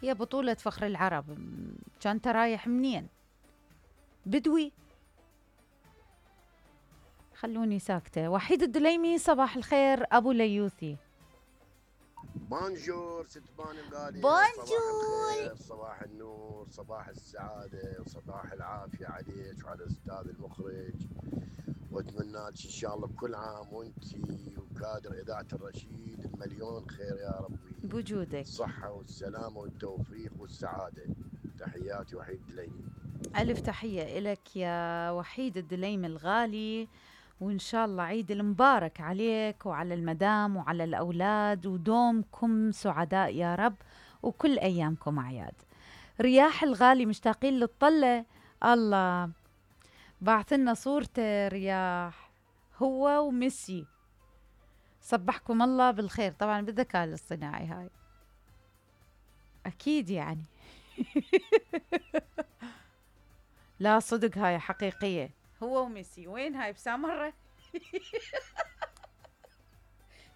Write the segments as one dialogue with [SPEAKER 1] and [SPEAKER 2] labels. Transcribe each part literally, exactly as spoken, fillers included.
[SPEAKER 1] هي بطولة فخر العرب، كان انت رايح منين؟ بدوي؟ خلوني ساكتة. وحيد الدليمي صباح الخير أبو ليوثي.
[SPEAKER 2] بونجور ست بان الغالية.
[SPEAKER 1] بونجور.
[SPEAKER 2] صباح الخير، صباح النور، صباح السعادة وصباح العافية عليك وعلى الأستاذ المخرج، واتمنى لك إن شاء الله بكل عام وأنتي وكادر إذاعة الرشيد المليون خير يا ربي،
[SPEAKER 1] بوجودك
[SPEAKER 2] الصحة والسلامة والتوفيق والسعادة. تحياتي وحيد الدليمي.
[SPEAKER 1] ألف تحية إلك يا وحيد الدليمي الغالي، وإن شاء الله عيد المبارك عليك وعلى المدام وعلى الأولاد، ودومكم سعداء يا رب، وكل أيامكم أعياد. رياح الغالي مشتاقين للطلة. الله بعثلنا صورته رياح هو وميسي، صبحكم الله بالخير. طبعا بالذكاء الاصطناعي هاي أكيد يعني. لا صدق هاي حقيقية، هو وميسي. وين هاي بسامرة؟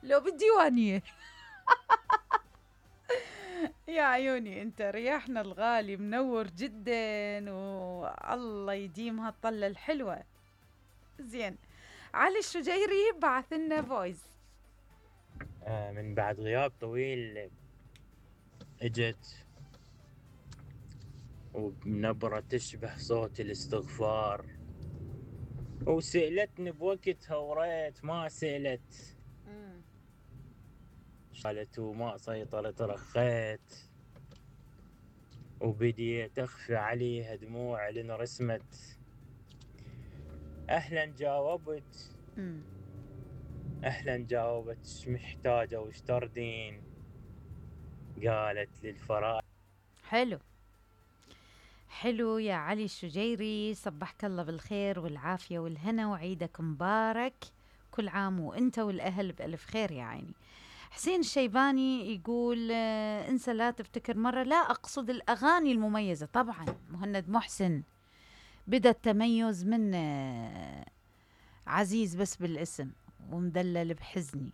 [SPEAKER 1] لو بالديوانية. يا عيوني انت رياحنا الغالي منور جدا، والله يديم هالطلة الحلوة. زين، علي الشجيري بعث لنا فويس.
[SPEAKER 3] آه من بعد غياب طويل اجت وبنبرة تشبه صوت الاستغفار، وسألتني بوقتها وريت ما سألت، قالت وما سيطرت رخيت، وبديت أخفي عليها دموع لأن رسمت. أهلا جاوبت
[SPEAKER 1] مم.
[SPEAKER 3] أهلا جاوبت ايش محتاجة وش تردين، قالت للفراق.
[SPEAKER 1] حلو حلو يا علي الشجيري، صبحك الله بالخير والعافية والهنا، وعيدك مبارك، كل عام وانت والأهل بألف خير يا عيني. حسين الشيباني يقول آه انسى لا تفتكر مرة، لا أقصد الأغاني المميزة. طبعا مهند محسن بدأ التميز من آه عزيز بس بالاسم ومدلل بحزني،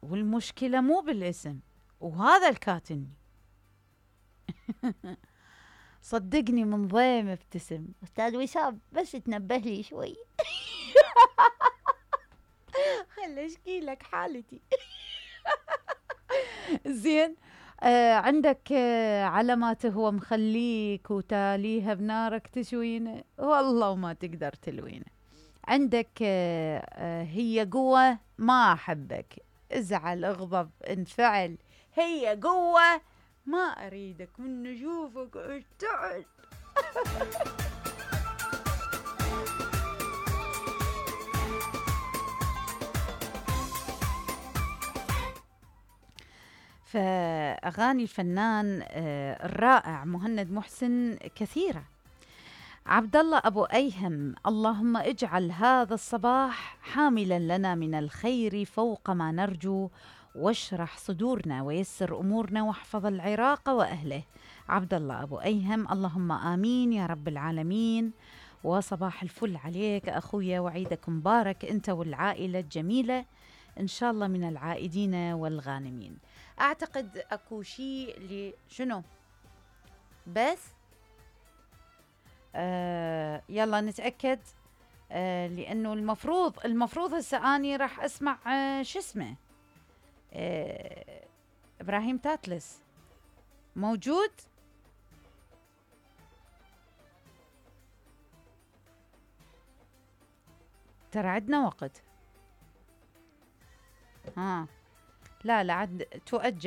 [SPEAKER 1] والمشكلة مو بالاسم، وهذا الكاتني. صدقني من ضيم ابتسم. أستاذ وسام بس تنبه لي شوي. خل اشكي لك حالتي. زين. آه عندك آه علامات هو مخليك وتاليها بنارك تشوينه، والله وما تقدر تلوينه. عندك آه آه هي قوة ما أحبك، ازعل اغضب انفعل، هي قوة ما أريدك من نشوفك اشتعل. فأغاني الفنان الرائع مهند محسن كثيرة. عبد الله أبو أيهم، اللهم اجعل هذا الصباح حاملا لنا من الخير فوق ما نرجو، واشرح صدورنا ويسر أمورنا واحفظ العراق وأهله. عبد الله أبو أيهم، اللهم آمين يا رب العالمين. وصباح الفل عليك أخويا، وعيدك مبارك أنت والعائلة الجميلة إن شاء الله من العائدين والغانمين. أعتقد أكو شيء لشنو بس آه يلا نتأكد، آه لأنه المفروض المفروض هسه أني راح أسمع آه شو اسمه آه إبراهيم تاتلس موجود. ترى عندنا وقت. ها لا لا عد تؤجل.